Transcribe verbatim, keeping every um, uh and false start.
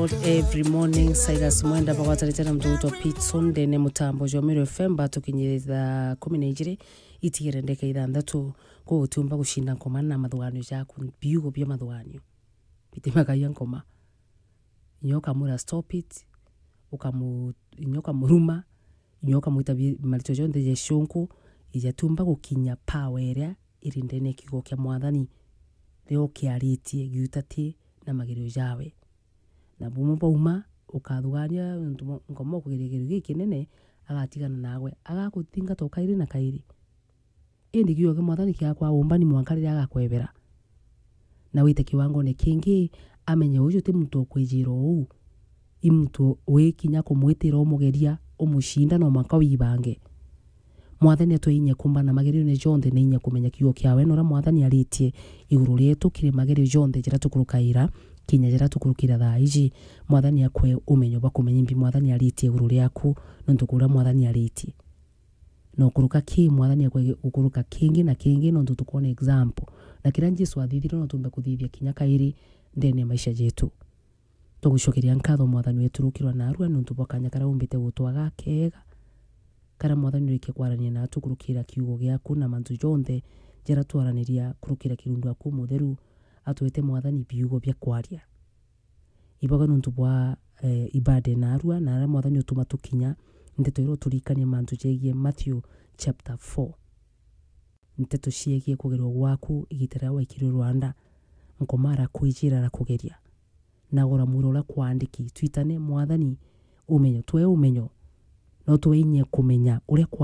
Every morning, Silas Mwenda bagwatanite na muntu witwa Pitson ndene mutambo jwa Meru F M, batukinyire thaa kumi na ijiri, itigire ndeka ithanthatu. Koguo utiumba gucinda nkoma na mathuganio jaku, biugo bia mathuganio. Bitimagagia nkoma. Inya ukamwira stop it, ukamu-, inya ukamuruma, inya ukamwita bi-, marito jonthe ja icunku, ijatiumba gukinya power iria iri ndene ya kiugo kia Mwathani, riria ukiaritie giutati na magerio jawe. Na bumwe bauma, ukathugania nontu mo-, nkoma ukugeria kigerio gikinene, agatigana nawe, agakuthingata o kairi na kairi. Indi kiugo kia Mwathani kiakwa umbani mwanka riria agakwebera. Na wite kiwangone kingi, amenye uju ti muntu ukwijira uu. I muntu wi kinya kumwitira umugeria, umucinda no mwanka wibange. Mwathani atwe inya kumbana magerione jonthe na inya kumenya kiugo kiawe na uria Mwathani aritie iguru rietu kiri magerio jonthe jaria tukurukaira, kinya jaria tukurukira thaa iji. Mwathani akwe umenyo bwa kumenya imbi Mwathani aritie iguru riaku, nontu kuria Mwathani aritie. Na ukuruka ki Mwathani akwe gukuruka kingi na kingi, nontu tukwona example. Na kiria Jesu athithire no tumbe kuthithia kinya kairi ndene ya maisha jetu. Tugucokeria nkatho Mwathani wetu rukirwa narua nontu bwa kanya karia umbite gutwaga kega, karia Mwathani urikia kwarania natu kurukira kiugo giaku na mantu jonthe jaria twaraniria kurukira kirundu aku mutheru, atwete Mwathani biugo bia kwaria. Ibaga nontu bwa, eh, ibada narua na aria Mwathani utuma tukinya, nteto iria uturikania mantu jegie Matthew chapter four. Nteto ciegie kugerwa gwaku igita riria waikirwe rwanda, nkoma arakwijira arakugeria. Na gora mwira uria kwandiki, twitane Mwathani umenyo, twe umenyo, no twe inya kumenya uria kwa